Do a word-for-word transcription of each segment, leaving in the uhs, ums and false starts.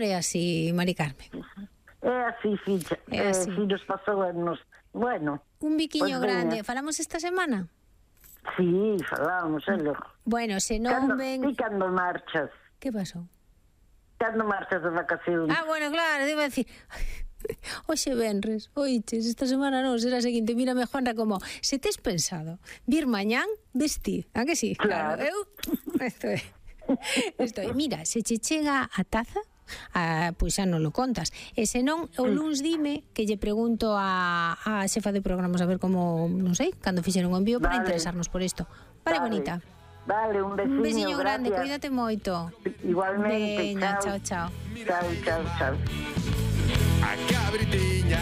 É así, Mari Carmen. É así, ficha. É así. Eh, si nos pasou anos. Bueno. Un biquiño Pois grande. veña. Falamos esta semana? Sí, falamos, é loco. Bueno, se non Cando, ven... ti cando marchas? Que pasou? Cando marchas de vacacións? Ah, bueno, claro, debo decir... Oxe venres, oiches, esta semana non, será a seguinte. Mírame, Juanra, como se tes pensado vir mañán, vestir, a que sí? Claro. Eu, estoy, estoy. Mira, se che chega a taza, ah, pois xa non lo contas. E se non, o luns dime que lle pregunto a, a xefa de programos a ver como, non sei, cando fixeron o envío para Vale. interesarnos por isto. Vale, Vale. bonita. Vale, un veciño, Un besiño grande, gracias. cuídate moito. Igualmente, Veña, chao. chao, chao. Chao, chao, chao. A cabritiña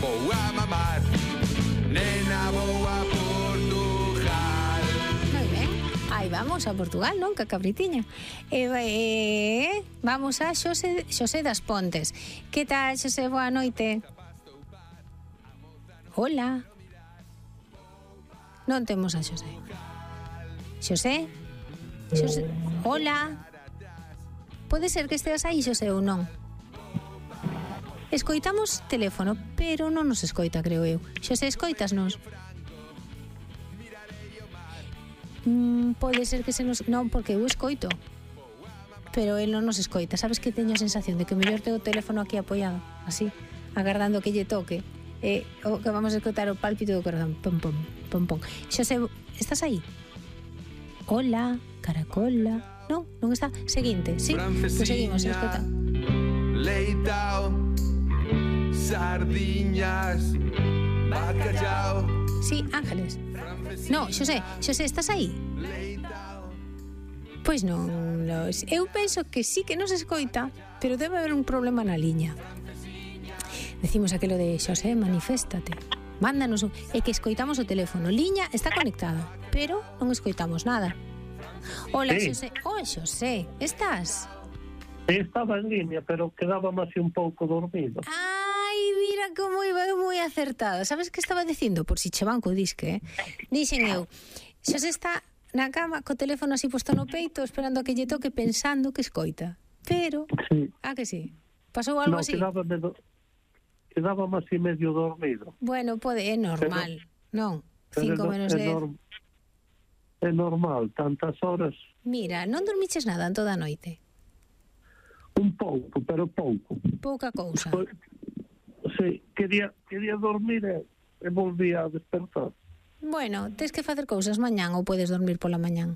vou a mamar, nena vou a Portugal. Moi ben. Aí vamos a Portugal, non? Que cabritiña. E, eh, vamos a Xosé, Xosé das Pontes. Que tal, Xosé? Boa noite. Hola. Non temos a Xosé. Xosé? Xosé? Hola. Pode ser que esteas aí, Xosé, ou non? Escoitamos teléfono, pero non nos escoita, creo eu. Xosé, escoitasnos? Mm, pode ser que se nos... Non, porque eu escoito. Pero el non nos escoita. Sabes que teño a sensación de que mellor tengo o teléfono aquí apoiado, así, agardando que lle toque. Eh, o que vamos a escoitar o pálpito do corazón. Pom, pom, pom, pom. Xosé, estás aí? Hola, caracola. Non, non está. Seguinte, sí, pues seguimos, escoita. Leitao, sardiñas, bacallao. Sí, Ángeles. No, Xosé, Xosé, estás aí? Pois non, los... eu penso que sí que nos escoita, pero debe haber un problema na liña. Decimos aquilo de Xosé, maniféstate. Mándanos un... É que escoitamos o teléfono. Liña está conectado, pero non escoitamos nada. Hola, Sí. Xosé. Oh, Xosé, estás? Estaba en línea, pero quedábame así un pouco dormido. Ai, mira como iba eu moi acertada. Sabes que estaba dicindo? Por si che banco disque, eh? Dixen eu, Xosé está na cama co teléfono así posto no peito, esperando a que lle toque, pensando que escoita. Pero, Sí. ah, que sí? Pasou algo No, así? quedábame, do... quedábame así medio dormido. Bueno, pode, é normal, non? Pero Cinco é, menos é, dez. norm... é normal, tantas horas, Mira, non dormiches nada en toda a noite? un pouco, pero pouco. Pouca cousa. Foi- Sí, quería, quería dormir e, e volví a despertar. Bueno, tes que facer cousas mañán ou podes dormir pola mañán?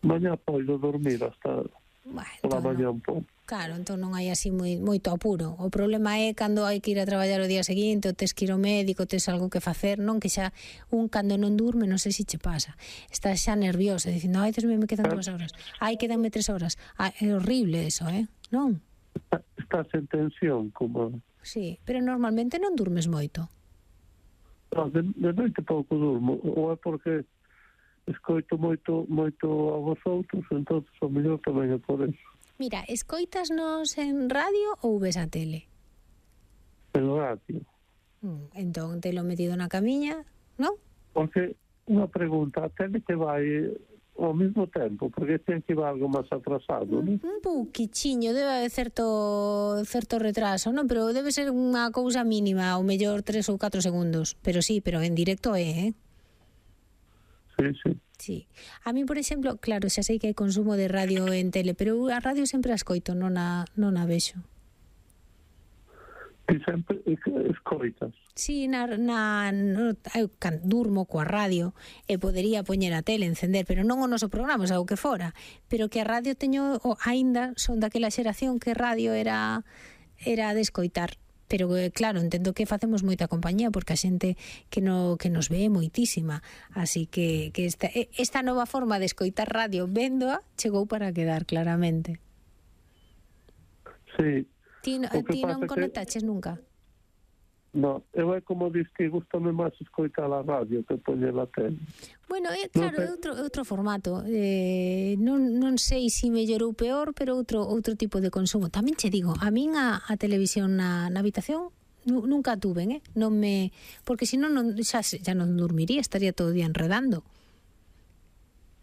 Mañá poido dormir hasta Bueno, pola entón, mañá non. un pouco. Claro, entón non hai así moi, moito apuro. O problema é cando hai que ir a traballar o día seguinte, ou tes que ir ao médico, tes algo que facer, non? Que xa un cando non durme, non sei se che pasa. Estás xa nervioso, dicindo, ai, Dios mío, me quedan dúas horas. Ai, quedanme tres horas. Ai, é horrible eso, eh? Non? Está- Estás en tensión, como... Sí, pero normalmente non durmes moito. No, de, de noite pouco durmo, ou é porque escoito moito moito a vosotros, entón o mellor tamén é por eso. Mira, escoitasnos en radio ou ves a tele? En radio. Mm, entón, telo metido na camiña, non? Porque, unha pregunta, a tele que vai ao mesmo tempo, porque ten que ir algo máis atrasado, non? Un pouquichiño, debe haber certo certo retraso, non? Pero debe ser unha cousa mínima, ou mellor tres ou catro segundos. Pero sí, pero en directo é, eh? Sí, sí. Sí. A mí, por exemplo, claro, xa sei que hai consumo de radio en tele, pero eu a radio sempre a escoito, non a, non a vexo. E sempre escoitas. Sí, na, na, no, eu can, durmo coa radio e podería poñer a tele, encender, pero non o noso programa, o que fora. Pero que a radio teño, o, aínda son daquela xeración que radio era era de escoitar. Pero, claro, entendo que facemos moita compañía porque a xente que, no, que nos ve moitísima. Así que, que esta, esta nova forma de escoitar radio véndoa chegou para quedar, claramente. Sí. Ti, ti non conectaches que... nunca? No, eu é como dis que gustame máis escoitar a radio que poñer a tele. Bueno, é claro, é outro, outro formato. Eh, non, non sei se mellor ou peor, pero outro outro tipo de consumo. Tamén che digo, a min a, a televisión na, na habitación nunca tuven, eh? Non me, porque senón non, xa, xa non dormiría, estaría todo o día enredando.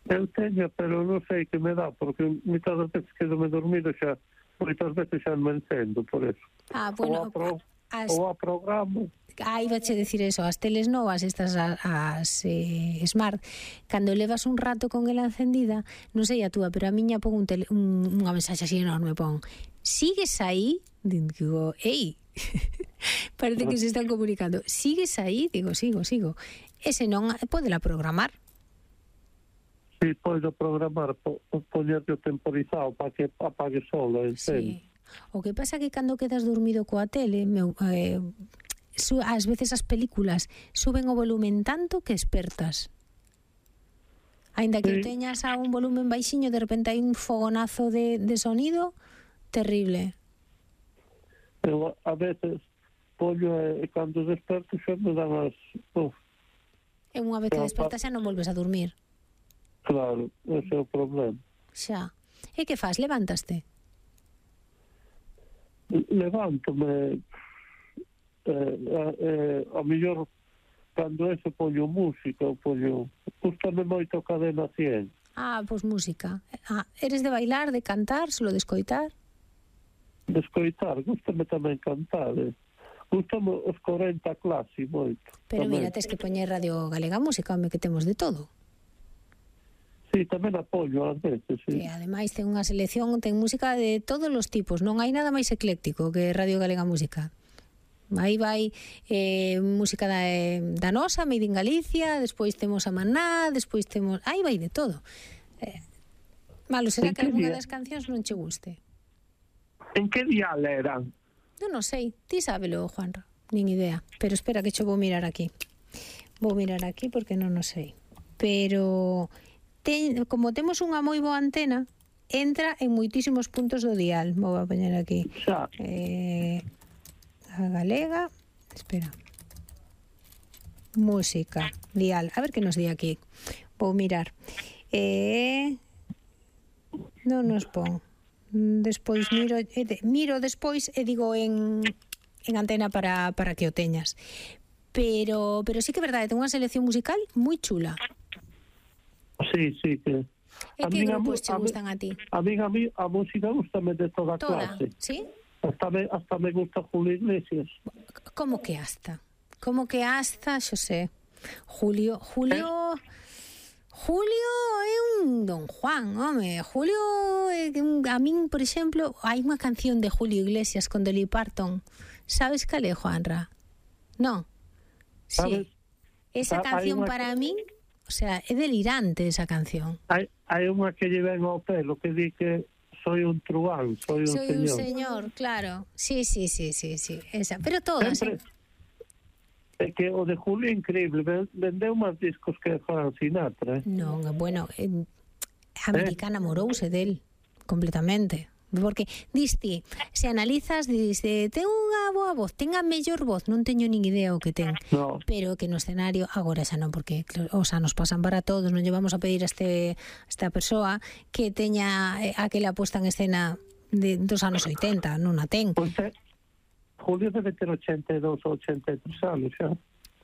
Eu teño, pero non sei que me dá, porque mitad das veces quedo-me dormido xa moitas veces xa me encendo por eso. Ah, Ou bueno, a, pro, as, ou a programa. ah, iba a decir eso, as teles novas, estas as, as eh, smart, cando levas un rato con ela encendida, non sei a túa, pero a miña pon un tele, un, unha mensaxe así enorme, pon, sigues aí? Digo, ei, parece que se están comunicando, sigues aí? Digo, sigo, sigo. Ese non, podela programar. Si, podo programar, po, poñerte o temporizado para que apague solo, encende. Sí. O que pasa que cando quedas dormido coa tele, meu, eh, su, ás veces as películas suben o volumen tanto que espertas. Ainda que Sí. teñas a un volumen baixiño, de repente hai un fogonazo de, de sonido terrible. Eu a veces pollo e cando desperto xa me dan as... Uf, E unha vez que Pero, despertas xa non volves a dormir. claro, ese é o problema. Xa. E que faz? Levántaste? Levántome, eh, eh, a mellor cando ese pollo música, o pollo... Gústame moito a cadena cien. Ah, pois música. Ah, eres de bailar, de cantar, solo de escoitar? De escoitar, gústame tamén cantar, eh. Gústame os corenta clase moito. Pero tamén. mira, tes que poñer Radio Galega Música, home, que temos de todo. Sí, tamén apoio ás veces, sí. Que ademais ten unha selección, ten música de todos os tipos, non hai nada máis ecléctico que Radio Galega Música. Aí vai eh, música da, eh, da nosa, Made in Galicia, despois temos a Maná, despois temos... Aí vai de todo. Eh, malo, será En que que algunha día? das cancións non che guste? En que dial eran? Non, non sei, ti sábelo, Juanra, nin idea. Pero espera que cho vou mirar aquí. Vou mirar aquí porque non o sei. Pero... Ten, como temos unha moi boa antena, entra en moitísimos puntos do dial. Vou a poñer aquí. Xa, Eh, a galega, espera. Música, dial. A ver que nos di aquí. Vou mirar. Eh, non nos pon. Despois miro, eh, de, miro despois e digo en, en antena para, para que o teñas. Pero, pero sí que é verdade, ten unha selección musical moi chula. sí, sí, que... E A que min a grupos mu- che a mi- gustan a ti? A mí, a mí, a música gustame de toda, Toda, clase. sí? Hasta me, hasta me gusta Julio Iglesias. Como que hasta? Como que hasta, xosé? Julio, Julio... Julio é un Don Juan, home. Julio, é un, a min, por exemplo, hai unha canción de Julio Iglesias con Dolly Parton. Sabes cal é, Juanra? Non? Sabes? Sí. Esa Ah, hai canción unha- para min, o sea, é delirante esa canción. Hai, hai unha que lle ven ao pelo que di que soy un truán, soy un Soy señor. un señor, claro. Sí, sí, sí, sí, sí. Esa, pero todas, Sempre, eh? é que o de Julio é increíble, ven- vendeu máis discos que Frank Sinatra, eh? Non, bueno, eh, a americana morouse del completamente. Porque diste, se analizas, diste, ten unha boa voz, ten a mellor voz, non teño nin idea o que ten. No, Pero que no escenario, agora xa non, porque claro, os anos pasan para todos, non llevamos a pedir a este a esta persoa que teña eh, aquela puesta en escena de, dos anos oitenta, non a ten. pois é, Julio debe ter ochenta e dous ou ochenta e tres anos xa.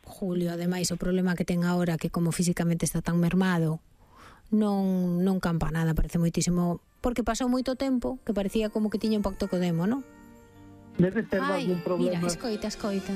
Julio, ademais, o problema que ten agora que como físicamente está tan mermado, non non campa nada, parece moitísimo, porque pasou moito tempo que parecía como que tiña un pacto co demo, non? Debe ter Ai, algún problema. mira, escoita, escoita.